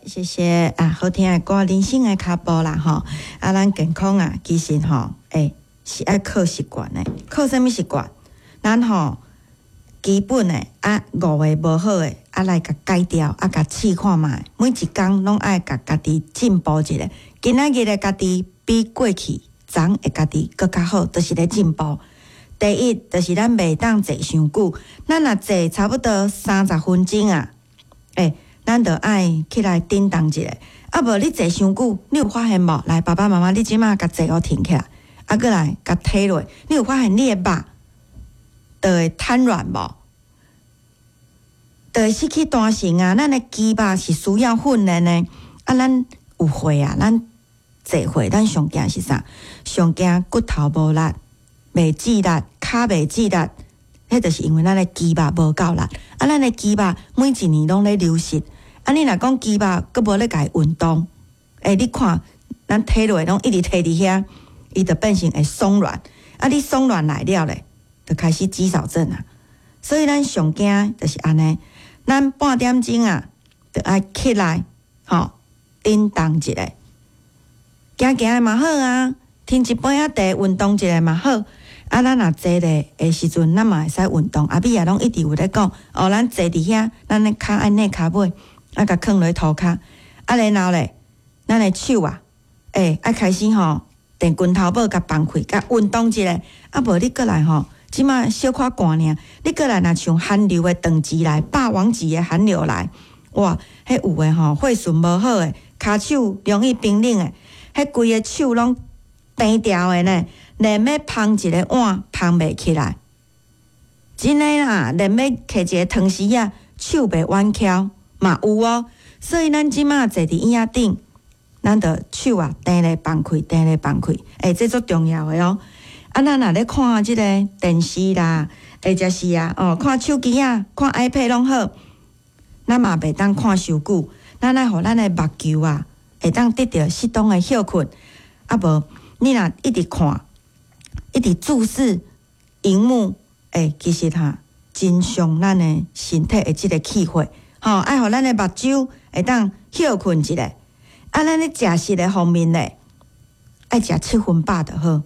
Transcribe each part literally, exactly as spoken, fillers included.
謝謝啊，好聽的歌，人生的跤步啦吼。啊，咱健康啊，其實吼，欸，是愛靠習慣的，靠啥物習慣？咱吼基本的啊，五个無好的啊，來共改掉，啊，共試看覓，每一工攏愛共家己進步一下。今仔日的家己比過去昨的家己閣較好，就是咧進步。第一，就是咱袂當坐傷久，咱若坐差不多三十分鐘啊，欸，咱著愛起來振動一下。啊無你坐傷久，你有發現無？來，爸爸媽媽，你這馬共坐予挺起來，啊，閣來共提落，你有發現你的肉就會癱軟無？就會失去彈性啊！咱的肌肉是需要訓練的。啊，咱有歲啊，咱濟歲，咱上驚是啥？上驚骨頭無力，袂致力，跤袂致力，彼就是因為咱的肌肉無夠力。啊，咱的肌肉每一年攏咧流失。啊，你若講肌肉閣無咧共伊運動，欸，你看咱提落攏一直提佇遐，伊就變成會鬆軟。啊，你鬆軟來了咧，就開始肌少症啊。所以咱上驚就是按呢，咱半點鐘啊，就愛起來，吼，振動一下，行行嘛好啊，添一杯仔茶運動一下嘛好。啊，咱若坐咧的時陣，咱嘛會使運動。阿美也攏一直有咧講，哦，咱坐佇遐，咱的跤愛捏跤尾，啊，共囥落塗跤。啊，然後咧，咱的手啊，欸，愛開始吼，電拳頭母共放開，共運動一下。啊，無你閣來吼，這馬小可寒爾，你閣來若像寒流的長期來，霸王級的寒流來，哇，彼有的吼，血循無好的，跤手容易冰冷的，彼規個手攏冰掉的呢，連欲捧一个碗捧袂起來，真的啦，連欲提一个湯匙仔，手袂彎翹嘛有哦。所以咱這馬坐佇椅仔頂，咱著手啊，定咧放開，定咧放開，欸，這足重要的哦。啊，咱若咧看這個電視啦，或者是啊，哦，看手機啊，看 iPad 攏好，咱嘛袂當看傷久，咱愛予咱的目球啊，會當得著適當的歇睏。啊無，你若一直看，一直注視螢幕，欸，其實哈，真傷咱的身體的這個氣血，吼，愛予咱的目睭會當歇睏一下。啊，咱咧食食的方面咧，愛食七分飽就好。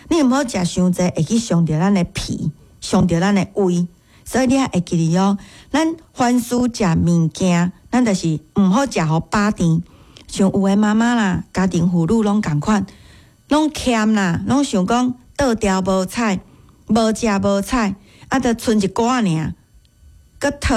你毋好食傷濟，會去傷著咱的脾，傷著咱的胃。所以你愛會記得哦，咱凡事食物件，咱就是毋好食予飽甜。像有的媽媽啦，家庭婦女攏仝款，攏儉啦，攏想講倒掉無彩，無食無彩，啊，就賰一寡爾，閣湯。